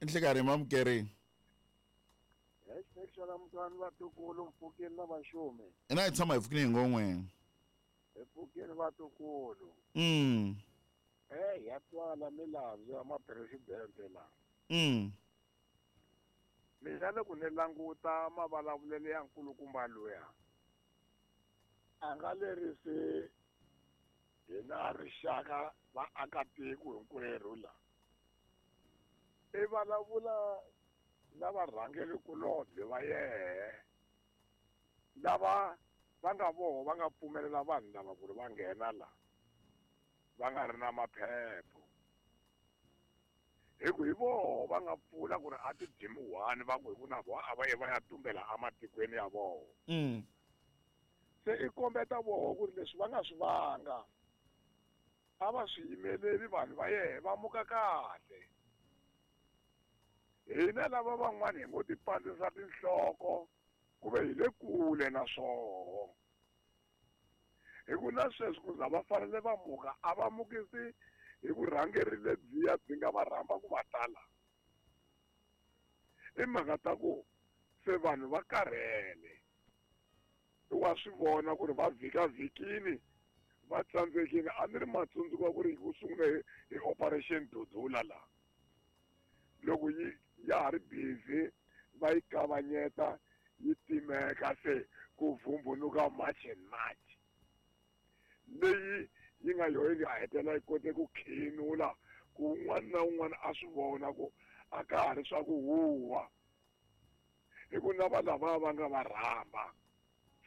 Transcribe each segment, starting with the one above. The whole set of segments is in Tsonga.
Nhlekarhi mamukerini. Xana mutwani vatukulu mpfukeni na vaxumi. Ina hi tshama hi pfukini hi ngon'we. Hi pfukeni vatukulu. Eh ya twala milandzu ya mapresidente la. Mina loko ni languta mavulavulelo ya nkulukumba luya a nga lerisi hina rixaka vaakatiko hinkwerhu la. I vulavula na varhangerikulobye va yehe lava va nga voho va nga pfumelela vanhu lava ku ri va nghena la va nga ri na maphepho hi ku hi voho va nga pfula ku ri a ti dyi one va ku hi ku na voho a va ye va ya tumbela ematikweni ya voho. Se i kombeta voho ku ri leswi va nga swi vanga a va swi yimeleli vanhu va yehe va muka kahle. Hina lava van'wana hi ngo ti pandzisa tinhloko ku ve hi le kule na swoho. Hi ku na sweswi ku za va fanele va muka a va mukisi hi vurhangeri lebyiya byi nga va rhamba ku va tala. I mhaka ta ku se vanhu va karhele. Wa swi vona ku ri va vhikavhikini va tsandzekile. A ni ri matsundzuka ku ri ku sungule hi Operation Dudula laha. Loko yi ya ha ri busy va yi kavanyeta yi timeka se ku vumbunuka March and March leyi yi nga yoho yi nga hetelela yi kote ku khinula ku un'wana na un'wana a swi vona ku a ka ha ri swa ku huwa hi ku na va lava va nga va rhamba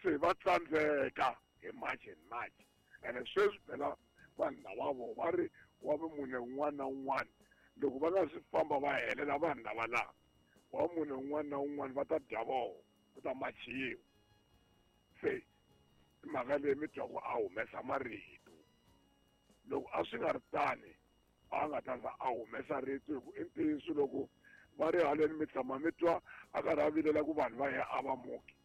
se va tsandzeka hi March and March. Ene sweswi phela vanhu lava vo va ri wa vumune un'wana na un'wana loko va nga swi famba va helela vanhu lava laha wa munhu un'wana na un'wana va ta dya voho ku ta machiwa. Se mhaka leyi mi twa ku a humesa marito loko a swi nga ri tani a nga ta za a humesa rito hi ku i ntiyiso loko va ri haleni mi tshama mi twa a karhi a vilela ku vanhu va ya a va muki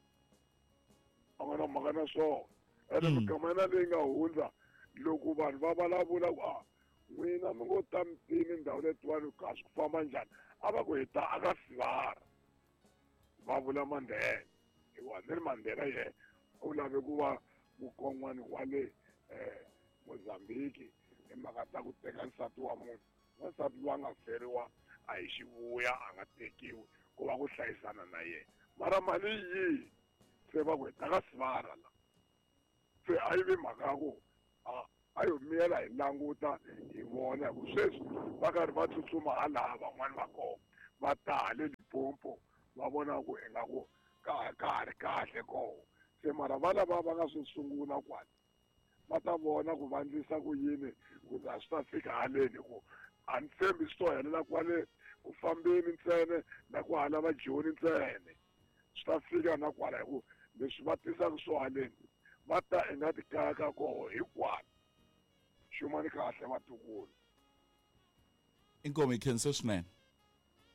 a nga na mhaka na swona. Ene mikama yena leyi nga hundza loko vanhu va vulavula ku a n'wina mi ngo ta mitini ndhawu letiwani ka swi ku famba njhani a va ku hi ta aka sivara va vula Mandela hikuva ni ri Mandela yena u lave ku va mukon'wana wa le Mozambique hi mhaka ta ku teka nsati wa munhu. Wansati loyi a nga feriwa a hi xivuya a nga tekiwi ku va ku hlayisana na yena mara mali yihi se va ku hi ta ka sivara la. Se a yi vi mhaka ya ku a yo miyela hi languta hi vona hi ku sweswi va karhi va tsutsuma halaha van'wani va kona va ta hale Limpopo va vona ku ingaku ka ha ri kahle koho. Se mara va lava va nga swi sungula kwala va ta vona ku va endlisa ku yini ku za swi ta fika haleni ku a ni tshembi swi to helela kwale ku fambeni ntsena na ku hala va Joni ntsena swi ta fika na kwala hi ku leswi va tisaka swo haleni va ta inga ti kaya ka koho hinkwako. Xumani kahle vatukulu. Inkomu hi khensa swinene.